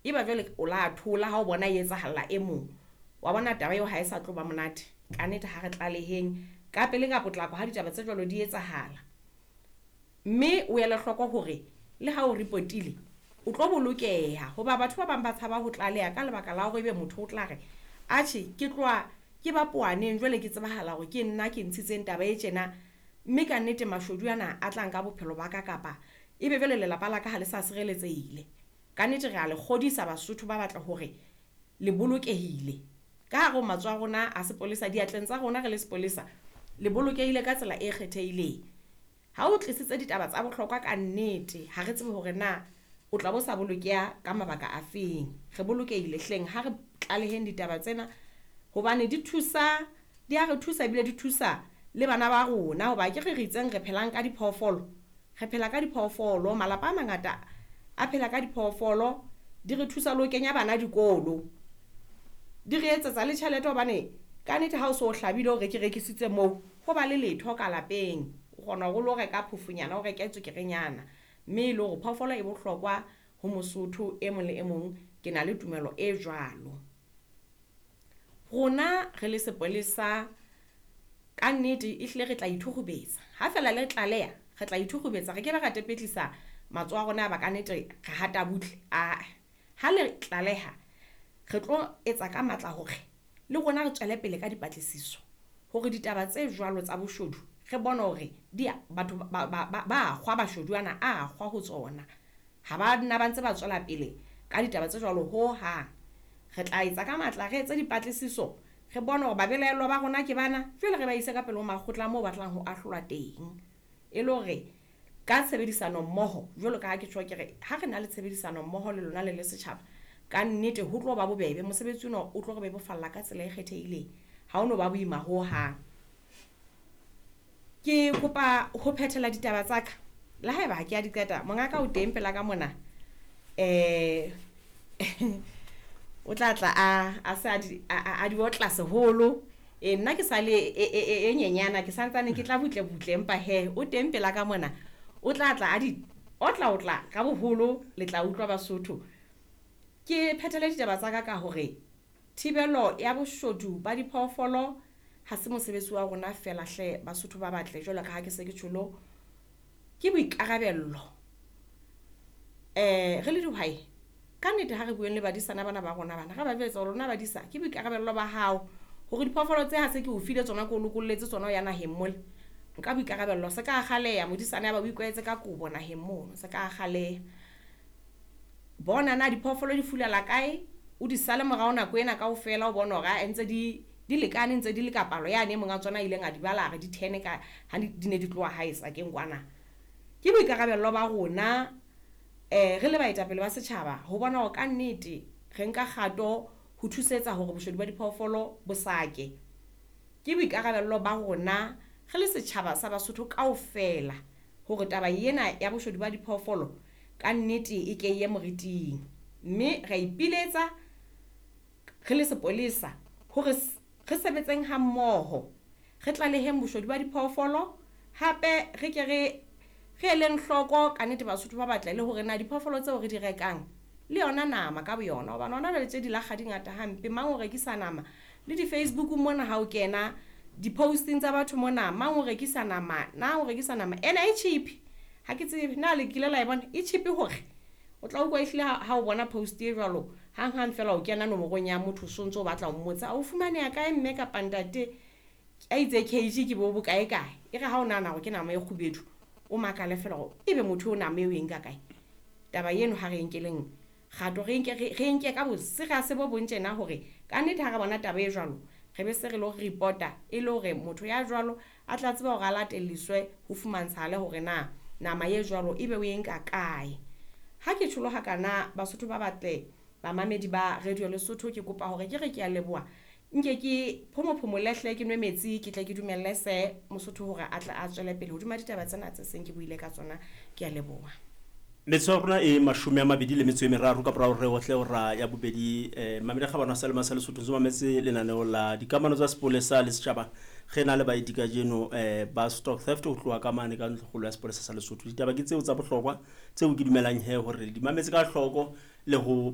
Eba jwale o la thola ha o bona e etsahalla e mong. Wa bona taba eo ha e sa tlo ba monate. Ka nnete ha re tlaleheng ka pele ka potlako ha ditaba tse jwalo di etsahala. Mme o ele hloko hore le ha o repotile o tlo bolokeha hoba batho ba bang ba tshaba ho tlaleha ka lebaka la hore ebe motho o tla re, atjhe ke tloha ke ba powaneng jwale ke tsebahala hore ke nna ke ntshitseng taba e tjena. Mme ka nnete mashodu ana a tla nka bophelo ba ka kapa ebe jwale lelapa la ka ha le sa sireletsehile. Ka nnete re a le kgodisa Basotho ba batla hore le bolokehile. Ka hare ho matsoho a rona a sepolesa, diatleng tsa rona re le sepolesa, le bolokehile ka tsela e kgethehileng. Ha o tlisitse ditaba tsa bohlokwa ka nnete, ha re tsebe hore na o tla bo sa bolokeha ka mabaka a feng. Re bolokehile hleng ha re tlaleheng ditaba tsena hobane di thusa, di a re thusa ebile di thusa le bana ba rona hoba akere re itseng re phelang ka diphoofolo. Re phela ka diphoofolo, malapa a mangata a phela ka diphoofolo, di re thusa le ho kenya bana dikolo. Di re etsetsa le tjhelete hobane ka nnete ha o so hlabile o re ke rekisitse moo, ho ba le letho ka lapeng. O kgona hore o lo reka phofonyana, o reke tswekerenyana. Mme e le hore phoofolo e bohlokwa ho Mosotho e mong le e mong, ke na le tumelo e jwalo. Rona re le sepolesa ka nnete ehlile re tla ithukgubetsa. Ha fela le tlaleha, re tla ithukgubetsa re ke be ra tepetlisa matsoho a rona ya ba ka nnete re hata butle. Ae, ha le tlaleha re tlo etsa ka matla hore le rona re tswele pele ka dipatlisiso hore ditaba tse jwalo tsa boshodu re bone hore di batho ba kgwa mashodu ana a kgwa ho tsona. Ha ba nna ba ntse ba tswela pele ka ditaba tse jwalo ho hang. Re tla etsa ka matla re etse dipatlisiso re bone hore babelaellwa ba rona ke bana, jwale re ba ise ka pele ho makgotla moo ba tlang ho ahlolwa teng. E le hore ka tshebedisano mmoho jwalo ka ha ke tjho ke re ha re na le tshebedisano mmoho le lona le le setjhaba, ka nnete ho tlo ba bobebe mosebetsi ona o tlo re bebofalla ka tsela e kgethehileng. Ha ono ba boima ho hang. Ke kopa ho phethela ditaba tsa ka le haeba ha ke a di qeta, mongaka o teng pela ka mona. O tla tla a se a di otla seholo. E nna ke sa le e nyenyana ke santsane ke tla butle butle empa he o teng pela ka mona. O tla tla a di otla otla ka boholo le tla utlwa Basotho. Ke phethele ditaba tsa ka ka hore thibelo ya boshodu ba diphoofolo ha se mosebetsi wa rona fela hle Basotho ba batle jwalo ka ha ke se ke tjholo, ke boikarabello. Re le dihwai ka nnete ha re bueng le badisana bana ba rona bana, re ba jwetsa hore lona badisa ke boikarabello ba hao hore diphoofolo tse ha se ke o file tsona ke o lokolletse tsona ho ya naheng mole. Nka boikarabello se ka kgaleha modisana ya ba o ikwahetse ka kobo naheng mono, se ka kgaleha. Bona na diphoofolo di fulala kae, o di sale morao nako ena kaofela o bone hore ae ntse di lekane ntse di le ka palo yane e monga tsona a ileng a di bala a re di 10 ka ha di ne di tloha hae sakeng kwana. Ke boikarabello ba rona re le baetapele ba setjhaba ho bona hore ka nnete re nka kgato ho thusetsa hore boshodu ba diphoofolo bo sake. Ke boikarabello ba rona re le setjhaba sa Basotho kaofela hore taba ena ya boshodu ba diphoofolo ka nnete e ke ye moriting. Mme re ipiletsa re le sepolesa hore re sebetseng ha mmoho, re tlaleheng boshodu ba diphoofolo, hape re ke re eleng hloko ka nnete Basotho ba batle le hore na diphoofolo tseo re di rekang le yona nama ka boyona, hobane hona jwale tje di lakga di ngata hampe. Mang o rekisa nama le di-Facebook mona ha o kena di-posting tsa batho mona, mang o rekisa nama, na o rekisa nama ena e cheap. Ha ke tsebe na le kile la e bona e cheap hore o tla utlwa ehlile ha o bona post e jwalo hang hang fela o kena nomorong ya motho so ntso o batla ho mmotsa o fumaneha kae mme kapa ntate a itse kg ke bo bokae kae. E re ha o nahana hore ke nama e kgubedu o makale fela hore ebe motho o nama eo e nka kae. Taba eno ha re nkeleng kgato, re nke ka boserious bo bong tjena hore ka nnete ha re bona taba e jwalo re be se re lo reporta e le hore motho ya jwalo a tla tseba hore a latelliswe ho fumantshahale hore na nama e jwalo ebe o e nka kae. Ha ke tjholo hakana Basotho ba batle bamamedi ba Radio Lesotho, ke kopa hore ke re ke a leboha, nke ke phomophomole hle ke nwe metsi ke tle ke dumelle se Mosotho hore a tle a tswele pele hodima ditaba tsena tse seng ke buile ka tsona. Ke a leboha. Metsotso ya rona e 23 ka morao re otle hora ya bobedi. Mamedi Kgabane wa Salema sa Lesotho ntse mametse lenaneo la dikamano tsa sepolesa le setjhaba. Re na le baeti kajeno ba Stock Theft ho tloha ka mane ka ntlokgolo ya sepolesa sa Lesotho. Ditaba ke tseo tsa bohlokwa tseo ke dumelang he hore di mametse ka hloko le ho